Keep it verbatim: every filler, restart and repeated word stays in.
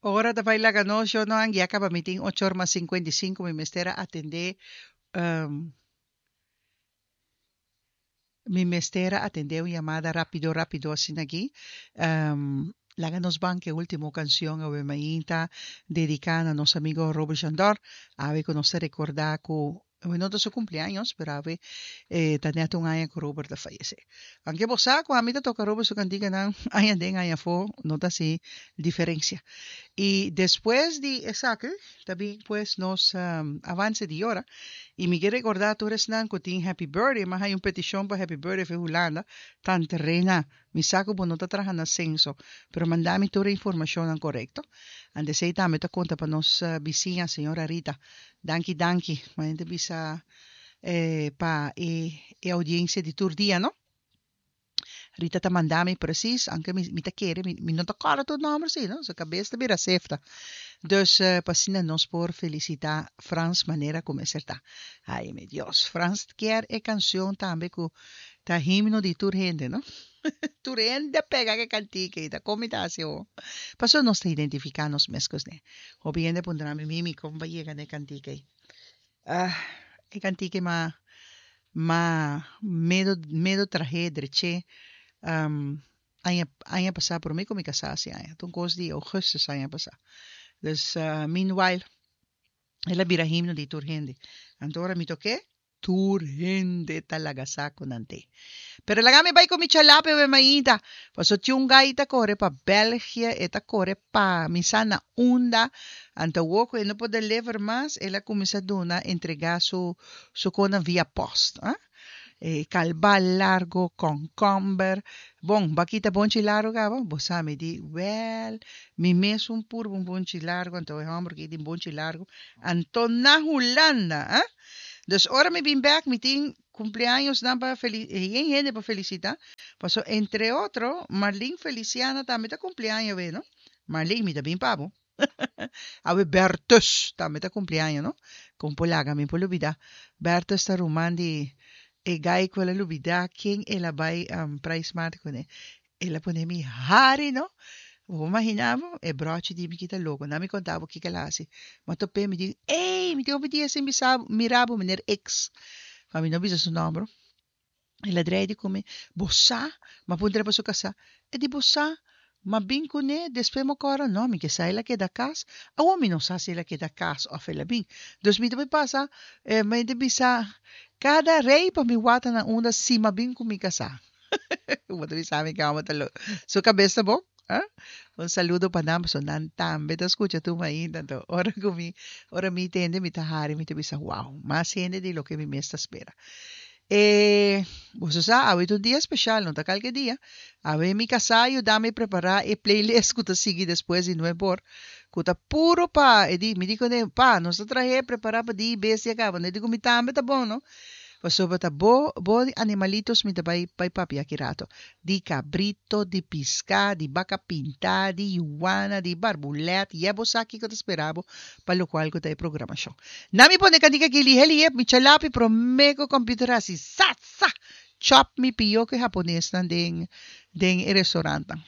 Ora ta bai laga nos, yo no anguia kaba mi tin ocho or mas sinkuenta i sinku, mi mester a atendé um, mi mester a atendé un yamada rápido rápido asina aki. Um, laga nos ban ku e último kanshon awe mainta dediká na nos amigo Robert Jandor. Awe ku nos ta rekordá ku awe no ta su kumpleaños, pero awe eh, ta net un aña ku Robert a fayesé. Aunke bo sa ku ami ta toka Robert su kantikanan aña den aña afó, no ta hasi diferensia. I despues di esaki ta bin pues nos avance di ora i mi ke recorda tur esnan ku tin happy birthday, mi a haña un peticion pa happy birthday for Hulanda, Tante Rena, mi sa ku bo no ta traha na censo, pero manda mi tur e informacionnan corecto. Ante esei tambe ta conta pa nos bisiña señora Rita. Danki danki, manera ta bisa pa e e audiencia di tur dia no. Rita ta manda mi precies, aunke mi mi ta kere, mi mi no ta kòrda tur nòmber si no, su kabes ta bira sefta. Dus pa asina nos por felisitá Frans manera ku mester ta. Ai mi Dios, Frans kier e kanshon tambe ku ta himno di tur hende no. Tur hende a pega ku e kantika ei, ta kon mi ta hasi awor? Pasobra nos ta identifiká nos mes ku esne. Hopi hende a puntra mi, Mimi, kon bo a yega na e kantika ei? Ah, e kantika ei ma Ma medo medo trahé dreché aña aña pasá promé ku mi kasá hasi aña ta un kos di ougùstus aña pasá dus meanwhile el a bira himno di tur hende anto ora mi tok'é tur hende ta laga sa ku nan te pero laga mi bai ku mi chalape awe mainta paso tin un gai ta kore pa België e ta kore pa mi sa na unda anto awor ku e no por deliver mas el a kuminsá duna entregá su Su konan via post, ah. E kalbal largo, kònkòmber. Bon, bo a kita bonchi largo kaba? Bo sa, mi di, wèl, mi mes un purba un bonchi largo, anto e hòmber ki tin bonchi largo, anto na Hulanda, ah. Dus ora mi bin bèk, mi tin kumpleañosnan pa feli, yen hende pa felisitá, paso entre otro, Marlene Feliciana tambe ta kumpleaño awe, no? Marlene, mi ta bin pa bo. Awe Bertus tambe ta cumpli aña no. Con por laga mi por lubida. Bertus ta ruman di e guy cu el a lubida ken el a bay prijsmaat cune. El a pone mi hari no. Bo por imagina bo e brochi di mi kita loco. Na mi conta bo kico el a haci. Mi a top'e mi di ey mi tin hopi dia sin bisa bo mira bo meneer X. Pa mi no bisa su nomber. El a drei di ku mi, Bo sa? M'a puntra pa su kasá. E di, Bo sa? M'a bin kuné, despues m'a kòrda, No, mi ke sa el a keda kas. Awor mi no sa si el a keda kas òf el a bin. Dus mi ta bai pasa, mi ta bisa kada rei pa mi wata na unda si m'a bin ku mi kasá. Bo ta bisa mi ke hòmber ta loko. Su kabes ta bon? Ah? Un saludo pa nan, pasobra nan tambe ta skucha tur mainta. Anto ora ku mi, ora mi tende mi ta hari, mi ta bisa, wow, mas hende di loke mi mes ta spera. E, boso sa, awe ta un dia speshal, no ta kalke dia. Awe mi kasá a yuda mi prepará e playlist ku ta sigui despues di nuebe or, ku ta puru pa, e di, mi di kuné, Pa, nos ta trah'é prepará pa dia i bestia kaba. No e di ku mi tambe ta bon, no? Pasobra ta bo, bo di animalitos mi ta bai bai papia aki rato. Di cabrito, di pisca, di baca pinta, di yuwana, di barbulèt, ya bo sa kico ta spera bo pa locual cu ta e programacion. Na mi pone cantica aki lihe lihe, mi chalapi prome cu computer haci sa sa! Chop mi pio cu e Japonesnan den den e restaurantnan.